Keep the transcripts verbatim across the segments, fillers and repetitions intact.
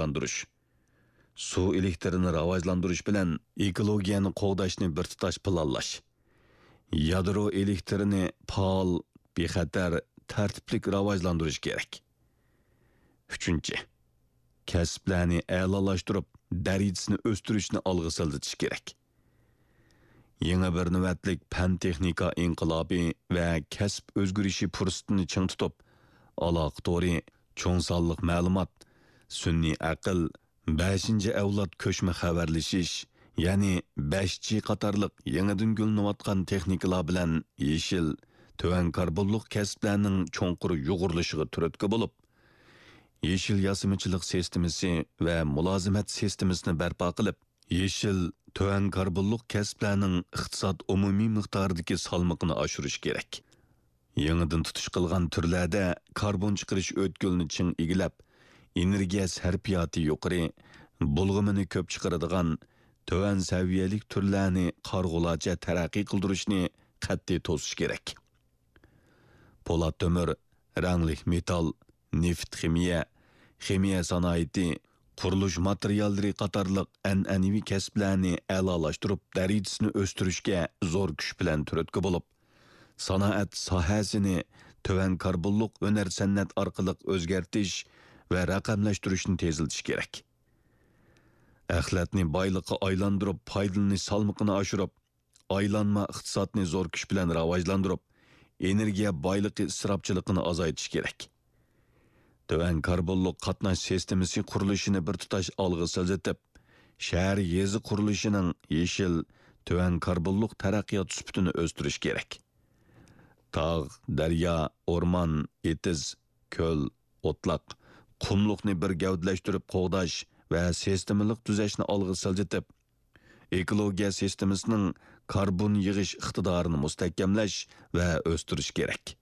راۋاجلاندۇرۇش، سۇ ئېلېكتىرىنى راۋاجلاندۇرۇش بىلەن ئېكولوگىيەنى قوغداشنى بىر تۇتاش پىلانلاش، يادرو ئېلېكتىرىنى پائال، بىخەتەر، تەرتىپلىك راۋاجلاندۇرۇش كېرەك. ئۈچىنچى، كەسىپلەرنى ئەلالاشتۇرۇپ، دەرىجىسىنى ئۆستۈرۈشنى ئالغا سىلجىتىش كېرەك. يېڭى بىر نۆۋەتلىك پەن-تېخنىكا ئىنقىلابى ۋە كەسىپ ئۆزگىرىشى پۇرسىتىنى چىڭ تۇتۇپ، ئالاقە تورى، چوڭ سانلىق مەلۇمات، سۈنئىي ئەقىل، بەشىنچى ئەۋلاد كۆچمە خەۋەرلىشىش، يەنى بەش جى قاتارلىق يېڭىدىن گۈللىنىۋاتقان تېخنىكىلار بىلەن يېشىل، تۆۋەن كاربونلۇق كەسىپلەرنىڭ چوڭقۇر يۇغۇرۇلۇشىغا تۈرتكە بولۇپ، يېشىل ياسىمىچىلىق سىستېمىسى ۋە مۇلازىمەت سىستېمىسىنى بەرپا قىلىپ، يېشىل، تۆۋەن كاربونلۇق كەسىپلەرنىڭ ئىقتىساد ئومۇمىي مىقدارىدىكى سالمىقىنى ئاشۇرۇش كېرەك. يېڭىدىن تۇتۇش قىلغان تۈرلەردە كاربون چىقىرىش ئۆتكىلىنى چىڭ ئىگىلەپ، ئېنېرگىيە سەرپىياتى يۇقىرى، بۇلغىمىنى كۆپ چىقىرىدىغان، تۆۋەن سەۋىيەلىك تۈرلەرنى قارىغۇلارچە تەرەققىي قىلدۇرۇشنى قەتئىي توسۇش كېرەك. پولات تۆمۈر، رەڭلىك مېتال، نېفىت خىمىيە، خىمىيە سانائىتى، قۇرۇلۇش ماتېرىياللىرى قاتارلىق ئەنئەنىۋى كەسىپلەرنى ئەلالاشتۇرۇپ، دەرىجىسىنى ئۆستۈرۈشكە زور كۈچ بىلەن تۈرتكە بولۇپ، سانائەت ساھەسىنى تۆۋەن كاربونلۇق ھۈنەر-سەنئەت ئارقىلىق ئۆزگەرتىش ۋە رەقەملەشتۈرۈشنى تېزلىتىش كېرەك. ئەخلەتنى بايلىققا ئايلاندۇرۇپ، پايدىلىنىش سالمىقىنى ئاشۇرۇپ، ئايلانما ئىقتىسادنى زور كۈچ بىلەن راۋاجلاندۇرۇپ، ئېنېرگىيە بايلىقى ئىسراپچىلىقىنى ئازايتىش كېرەك. تۆۋەن كاربونلۇق قاتناش سىستېمىسى قۇرۇلۇشىنى بىر تۇتاش ئالغا سىلجىتىپ، شەھەر، يېزا قۇرۇلۇشىنىڭ يېشىل، تۆۋەن كاربونلۇق تەرەققىيات سۈپىتىنى ئۆستۈرۈش كېرەك. تاغ، دەريا، ئورمان، ئېتىز، كۆل، ئوتلاق، قۇملۇقنى بىر گەۋدىلەشتۈرۈپ قوغداش ۋە سىستېمىلىق تۈزەشنى ئالغا سىلجىتىپ، ئېكولوگىيە سىستېمىسىنىڭ كاربون يىغىش ئىقتىدارىنى مۇستەھكەملەش ۋە ئۆستۈرۈش كېرەك.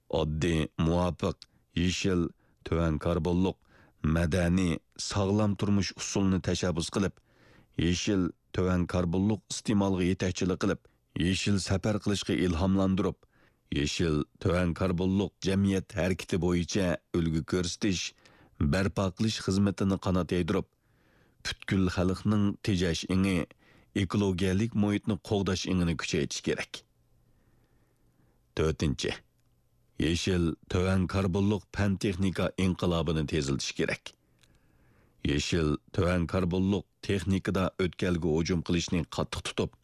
ئاددىي، مۇۋاپىق، يېشىل، تۆۋەن كاربونلۇق، مەدەنىي، ساغلام تۇرمۇش ئۇسۇلىنى تەشەببۇس قىلىپ، يېشىل، تۆۋەن كاربونلۇق ئىستېمالغا يېتەكچىلىك قىلىپ، يېشىل سەپەر قىلىشقا ئىلھاملاندۇرۇپ، يېشىل، تۆۋەن كاربونلۇق جەمئىيەت ھەرىكىتى بويىچە ئۈلگە كۆرسىتىش، بەرپا قىلىش خىزمىتىنى قانات يايدۇرۇپ، پۈتكۈل خەلقنىڭ تېجەش ئېڭى، ئېكولوگىيەلىك مۇھىتنى قوغداش ئېڭىنى كۈچەيتىش كېرەك. تۆتىنچى، يېشىل، تۆۋەن كاربونلۇق پەن-تېخنىكا ئىنقىلابىنى تېزلىتىش كېرەك. يېشىل، تۆۋەن كاربونلۇق تېخنىكىدا ئۆتكەلگە ھۇجۇم قىلىشنى قاتتىق تۇتۇپ،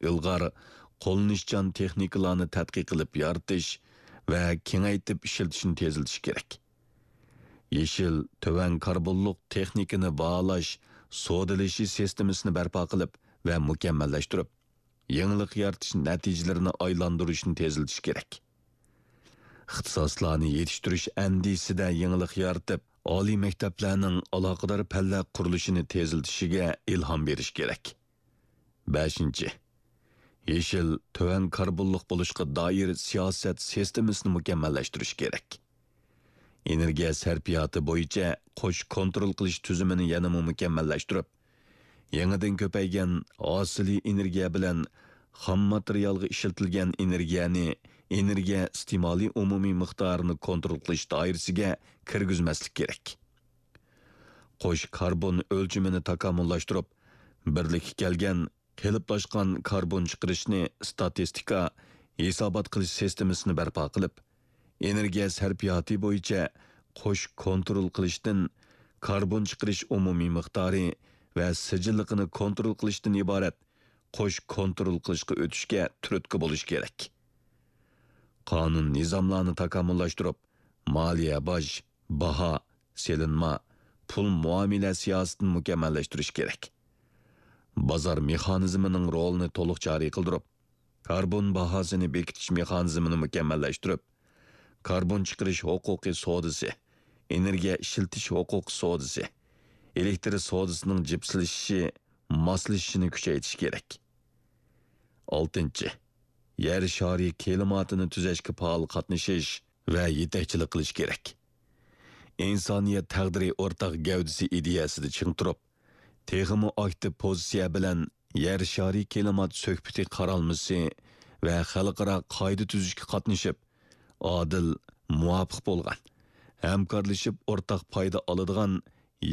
ئىلغار، قوللىنىشچان تېخنىكىلارنى تەتقىق قىلىپ يارىتىش ۋە كېڭەيتىپ ئىشلىتىشنى تېزلىتىش كېرەك. يېشىل، تۆۋەن كاربونلۇق تېخنىكىنى باھالاش، سودىلىشىش سىستېمىسىنى بەرپا قىلىپ ۋە مۇكەممەللەشتۈرۈپ، يېڭىلىق يارىتىش نەتىجىلىرىنى ئايلاندۇرۇشنى تېزلىتىش كېرەك. ئىختىساسلارنى يېتىشتۈرۈش ئەندىزىسىدە يېڭىلىق يارىتىپ، ئالىي مەكتەپلەرنىڭ ئالاقىدار پەنلەر قۇرۇلۇشىنى تېزلىتىشىگە ئىلھام بېرىش كېرەك. بەشىنچى، يېشىل، تۆۋەن كاربونلۇق بولۇشقا دائىر سىياسەت سىستېمىسىنى مۇكەممەللەشتۈرۈش كېرەك. ئېنېرگىيە سەرپىياتى بويىچە قوش كونترول قىلىش تۈزۈمىنى يەنىمۇ مۇكەممەللەشتۈرۈپ، يېڭىدىن كۆپەيگەن ھاسىلىي ئېنېرگىيە بىلەن خام ماتېرىيالغا ئىشلىتىلگەن ئېنېرگىيەنى ئېنېرگىيە ئىستېمالى ئومۇمىي مىقدارىنى كونترول قىلىش دائىرىسىگە كىرگۈزمەسلىك كېرەك. قوش كاربون ئۆلچىمىنى تاكامۇللاشتۇرۇپ، بىرلىككە كەلگەن قېلىپلاشقان كاربون چىقىرىشنى ئىستاتىستىكا، ھېسابات قىلىش سىستېمىسىنى بەرپا قىلىپ، ئېنېرگىيە سەرپىياتى بويىچە قوش كونترول قىلىشتىن، كاربون چىقىرىش ئومۇمىي مىقدارى ۋە سىجىللىقىنى كونترول قىلىشتىن ئىبارەت قوش كونترول قىلىشقا ئۆتۈشكە تۈرتكە بولۇش كېرەك. قانۇن نىزاملارنى تاكامۇللاشتۇرۇپ، مالىيە باج، باھا، سېلىنما، پۇل مۇئامىلە سىياسىتىنى مۇكەممەللەشتۈرۈش كېرەك. بازار مېخانىزمىنىڭ رولىنى تولۇق جارى قىلدۇرۇپ، كاربون باھاسىنى بېكىتىش مېخانىزمىنى مۇكەممەللەشتۈرۈپ، كاربون چىقىرىش ھوقۇقى سودىسى، ئېنېرگىيە ئىشلىتىش ھوقۇقى سودىسى، ئېلېكتر سودىسىنىڭ جىپسلىشىشى، ماسلىشىشىنى كۈچەيتىش كېرەك. ئالتىنچى، يەر شارى كىلىماتىنى تۈزەشكە پائال قاتنىشىش ۋە يېتەكچىلىك قىلىش كېرەك. ئىنسانىيەت تەقدىرى ئورتاق گەۋدىسى ئىدىيەسىدە چىڭ تۇرۇپ، تېخىمۇ ئاكتىپ پوزىتسىيە بىلەن يەر شارى كىلىمات سۆھبىتى قارالمىسى ۋە خەلقئارا قائىدە تۈزۈشكە قاتنىشىپ، ئادىل، مۇۋاپىق بولغان، ھەمكارلىشىپ ئورتاق پايدا ئالىدىغان